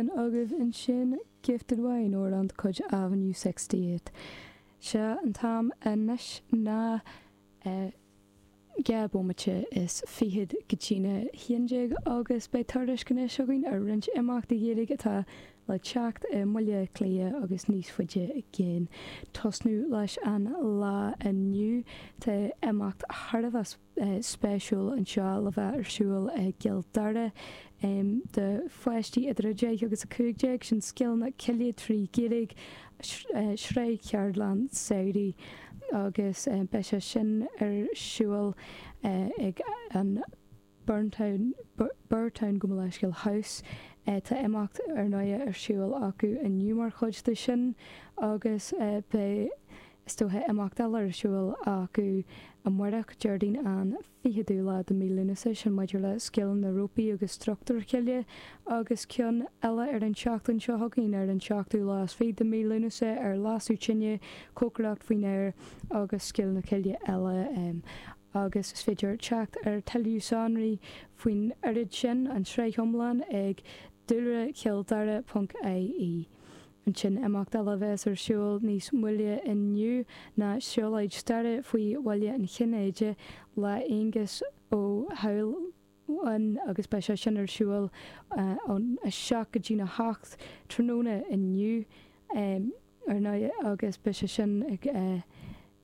Agaibh ansin Gifted Wine, amhrán de chuid Avenue 68. Sea, an t-am anois ná 11 bomaite go dtína 11 agus beidh tuairisc anois againn ar roinnt imeachtaí Gaeilge atá le teacht i mBaile Átha Cliath agus níos faide i gcéin. Tosnú leis an lá inniu, tá imeacht thar a bheith spéisiúil anseo le bheith ar siúl i gCill Dara do pháistí idir 10 agus 15, sin Scileanna Cille 3 Ghaeilge, sraith cheardlann samhraidh agus beidh sé sin ar siúl ag an Burtown, Burtown gabh mo leithscéal, House. Tá imeacht ar ndóigh ar siúl acu inniu mar chuid de sin agus beidh Is dócha imeacht eile ar siúl acu amárach, Déardaoin an 20ú lá de mhí Lúnasa, sin maidir le scileanna rópaí agus struchtúir chille, agus ceann eile ar an tseachtain seo chugainn, ar an seachtú lá is fiche de mhí Lúnasa, ar lasadh tine, cócaireacht faoin aer agus scileanna cille eile. Agus is féidir teacht ar tuilleadh sonraí faoin oiread sin, an tsraith iomlán, ag dúlrachilldara ponc ie. Ansin, imeacht eile a bheas ar siúl níos moille inniu ná siúlóid staire faoi Bhaile an Chinnéidigh le Aengus Ó hAlmhain agus beidh sé sin ar siúl ón 7 go dtína 8 tráthnóna inniu ar ndóigh agus beidh sé sin ag.